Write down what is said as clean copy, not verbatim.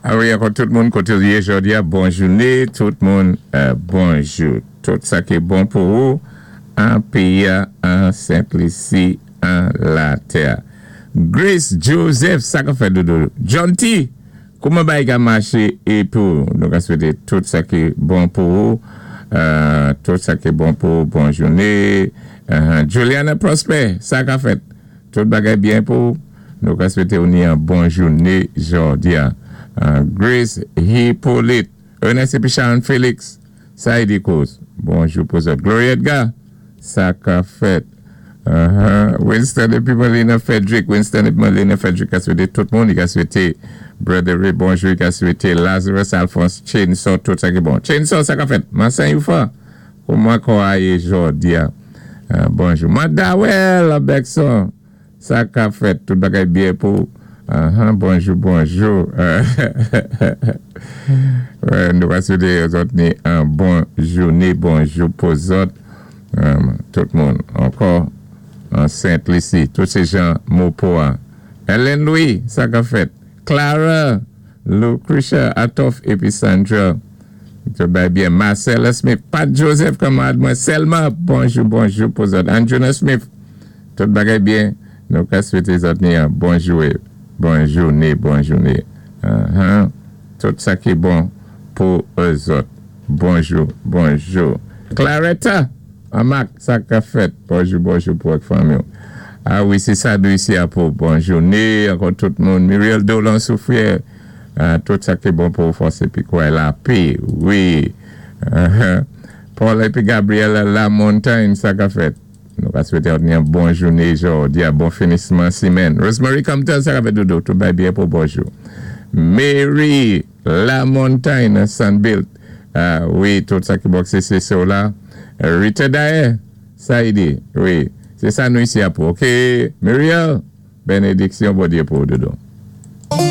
A wi, ankò tout moun koté ou yé jòdi-a, bon jouné, tout moun bonjou. Tout sa ki bon pou ou an péyi-a, an Sent Lisi, an latè. Grace Joseph, sa ka fèt doudou? John T, kouman bagay ka maché é pou ou? Nou ka swété tout sa ki bon pou ou, tout sa ki bon pou ou, bon jouné. Juliana Prosper, sa ka fèt? Tout bagay byen pou ou? Nou ka swété ou ni an bon jouné jòdi-a. Grace Hyppolite, Ernest épi Sharon Felix, sa y di kouz? Bonjou pou zòt. Gloria Edgar, sa ka fèt? Winston épi Melina Frederick, Winston épi Melina Frederick ka swété tout moun, i ka swété Brother Ray bonjou, i ka swété Lazarus Alphonse Chainsaw tout sa ki bon. Chainsaw, sa ka fèt? Mansan Youfa, kouman kò-a yé jòdi-a? Bonjou. Mandawel Bergson, sa ka fèt? Tout bagay byen pou ou? Bonjou, bonjou. Nou ka swété zòt ni an bon jouné, bonjou pou zòt. Tout moun ankò an Sent Lisi, tout sé jan Mopo-a. Ellen Louis, sa ka fèt? Clara, Lucretia, Atoff épi Sandra, tout bagay byen. Marcella Smith, Pat Joseph kanmarad mwen sèlman, bonjou, bonjou pou zòt. Andjuna Smith, tout bagay byen, nou ka swété zòt ni an bon joué, bon jouné, bon jouné. Tout sa ki bon pou zòt. Bonjou, bonjou. Claretta, an Mak, sa ka fèt? Bonjou, bonjou pou ak fanmi ou. A wi, sé sa dou isi a pou bon jouné ankò tout moun. Muriel Dolan Soufrière, tout sa ki bon pou ou fòs épi kouray lapé. Wi. Paul épi Gabriella Lamontagne, sa ka fèt? Nou ka swété ou ni an bon jouné jòdi a, bon finisman simèn. Rosemary Compton, sa ka fèt doudou? Tout bagay byen pou ou, bonjou. Mary Lamontagne, Sunbuilt, wi, tout sa ki bon se se se w la. Rita Daher, sa y di, wi, sé sa nou isi a pou, ok. Muriel, benediksyon Bondyé pou ou doudou.